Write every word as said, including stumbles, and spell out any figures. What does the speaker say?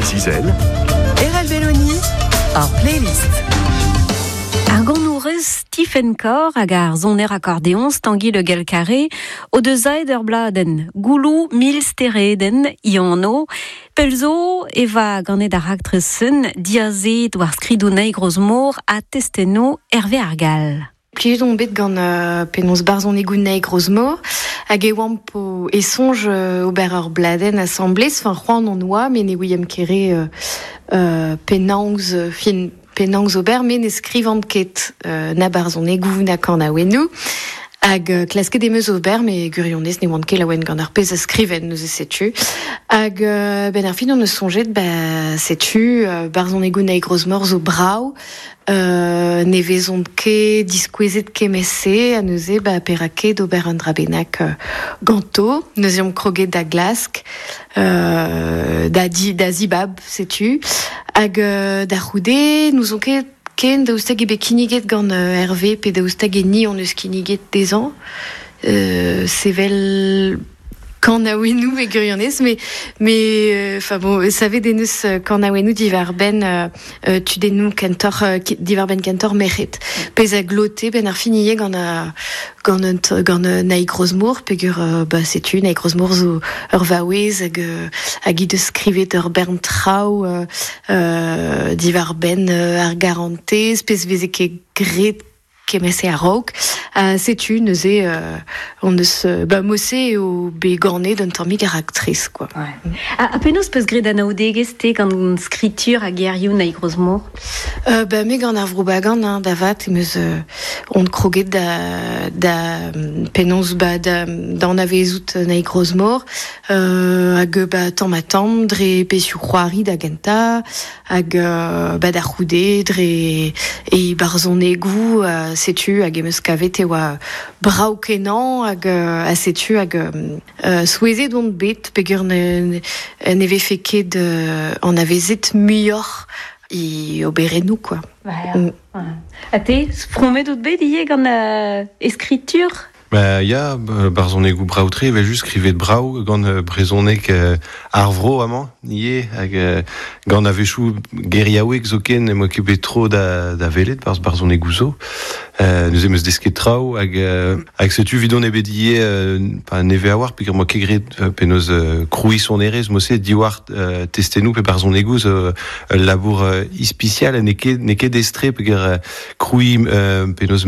Breizh Izel. Erell Belloni, ar playlist. Ar ganourez Stephen Kor hag ar soner akordeoñs Tangi Le Gall-Carré o deus aet ur bladenn, Gouloù mil steredenn Iano, Pelzo eva ganet ar raktres-sen diazet war skridoù Naig Rozmor ha testennoù Hervé Ar Gall. Plijet on bet gant euh, penaos barzhonegoù Naig Rozmor hag e oamp o e soñj euh, ober ur bladenn asambles, enfin c'hoant on oa, met ne ouiemp ket re euh, euh, penaos euh, fin penaos ober, met ne skrivan ket euh, na barzhonegoù na kanaouennoù. Hag euh, klasket em eus ober, met gwirionez ne oan ket laouen gant ar pezh a skriven neuze setu. Hag euh, ben ar fin on eus soñjet, ba setu, euh, barzhonegoù Naig Rozmor zo brav, euh, ne vezont ket diskouezet kement-se, ha neuze ba perak ket ober un dra bennak euh, ganto, neuze omp kroget da glask, euh, da, di, da zibab, setu, hag euh, da c'houde, n'ouzon ket ken daoust hag eo bet kinniget gant euh, Hervé pe daoust hag eo ni hon eus kinniget dezhañ, euh, sevel kanaouennoù e gwirionez, mais mais enfin bon, savet en deus kanaouennoù diwar-benn euh, euh, tudennoù kentoc'h euh, diwar-benn kentoc'h merc'hed. Pezh a glote ben ar fin ivez gant a gant un gant Naig Rozmor peogwir euh, ba setu Naig Rozmor zo ur vaouez hag euh, hag he deus skrivet ur bern traoù euh, euh, diwar-benn euh, ar garantez, pezh veze ket graet kement-se a-raok. Uh, setu neuze euh, on eus ba mod-se eo bet ganet un tammig ar raktres quoi. Ouais. Ha, ha penaos peus graet anaoudegezh te gant skritur hag gerioù Naig Rozmor? Euh, ba me gant ar Vro Bagan hein, da vat em eus euh, on kroget da da penaos ba da da anavezout Naig Rozmor euh, hag ba tamm ha tamm dre pezhioù c'hoari da gentañ hag euh, ba da c'houde dre e barzhonegoù euh, setu hag em eus kavet e oa brav kenañ hag euh, ha setu hag euh, souezhet on bet peogwir ne, ne vefe ket euh, anavezet muioc'h e oberennoù quoi. Ouais, Mm. ouais. Ha te, fromet out bet ivez gant euh, e skritur? Ba ya, barzhonegoù brav-tre, evel just skrivet brav gant euh, brezhoneg euh, ar vro amañ, ivez, hag euh, gant a-wechoù geriaoueg zoken em boa ket bet tro da, da welet barzh barzhonegoù zo. Euh, neuze em eus desket traoù hag, euh, hag setu 'vidon eo bet ivez euh, pa nevez a-walc'h peogwir 'moa ket graet euh, penaos euh, krouiñ sonerezh mod-se diwar euh, testennoù pe barzhonegoù zo ul labour euh, ispisial ha n'eo ket n'eo ket aes-tre peogwir euh, krouiñ euh, penaos